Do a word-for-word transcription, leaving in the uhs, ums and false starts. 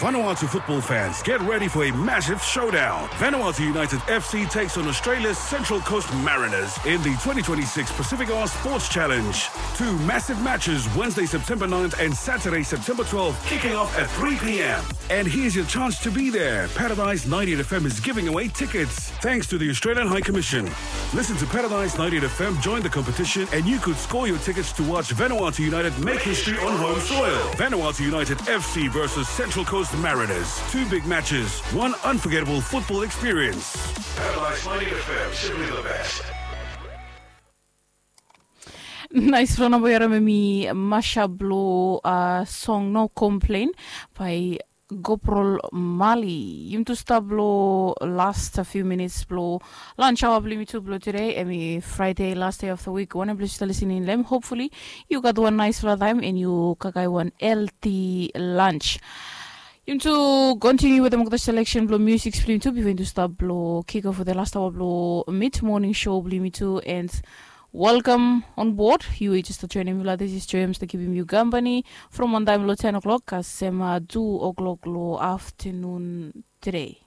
Vanuatu football fans, get ready for a massive showdown. Vanuatu United F C takes on Australia's Central Coast Mariners in the twenty twenty-six Pacific Islands Sports Challenge. Two massive matches, Wednesday, September ninth and Saturday, September twelfth, kicking off at three p.m. And here's your chance to be there. Paradise ninety-eight F M is giving away tickets thanks to the Australian High Commission. Listen to Paradise ninety-eight F M, join the competition, and you could score your tickets to watch Vanuatu United make history on home soil. Vanuatu United F C versus Central Coast Mariners. Two big matches, one unforgettable football experience. Paradise ninety-eight F M, simply the best. Naes, long namba ya, hemi mashup blo song No Complain by Goprol Mali. Yumi tu stap blo last few minutes blo lunch hour blo yumi tu blo tede, hemi Friday, last day of the week. Wanem ples yu stap listening long hem, hopefully yu gat wan naesfala taem and yu kakae wan healthy lunch. Yumi tu continue wetem olgeta selection blo music blo yumi tu bifo yumi tu stap blo kick off wetem last hour blo mid morning show blo yumi tu. And welcome on board. Yu we yu jes stap joenem mi, this is Joy, mi stap kipim yu kampani from wan taem lo ten o'clock kasem tu o'clock lo aftenun tede.